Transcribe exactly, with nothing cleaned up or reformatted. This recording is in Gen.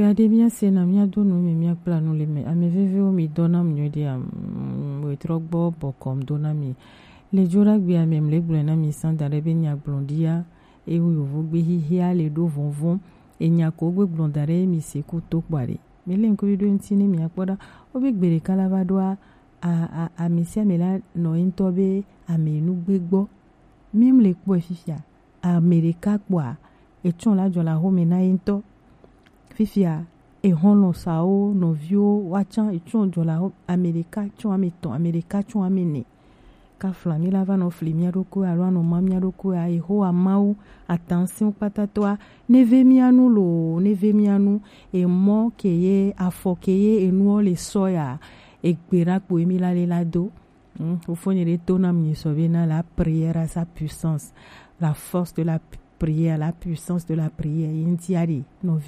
Aɖe míase na míado nu mi, míakpla nu le me. Ame veviwo mi dɔ nam nyuie ɖi am, wetrɔ gbɔ bɔkɔm do na mi. Le dzo ɖagbe ame mle gblɔe na mi sã da ɖe be nya gblɔ ɖia, ewu yovogbe hihia le ɖo vɔvɔ, enya ko gbe gblɔ da ɖe mi se ku to kpa ɖe. Mi le ŋkuvi ɖo ŋuti ne mi akpɔ ɖa, wo be gbe ɖeka la va ɖoa, a, a, ame sia ame la nɔ ye ŋutɔ be ame nugbe gbɔ. Mi mle kpɔe fifia, ame ɖeka kpɔa, etsɔ la dzɔ la home na ye ŋutɔ. Fifia, exɔlɔ sawo, nɔviwo, woatsã etsɔ dzɔ la ho-, ame ɖeka tsɔ ame etɔ̃, ame ɖeka tsɔ ame ene. Kafla mi la va nɔ fli mía ɖokui alo anɔ ma mía ɖokui a, Yehowa Mawu atansiwo kpatatɔa, neve mía nu loo, neve mía nu, emɔ ke ye, afɔ ke ye, enuɔ le sɔ ya, egbe ɖa kpo emi la le la do. Hmm, Fofonye ɖe to nam nyi sɔ be na la prière a sa puissance, la force de la p-, prière, la puissance de la prière. Ye ŋuti aɖe, nɔvi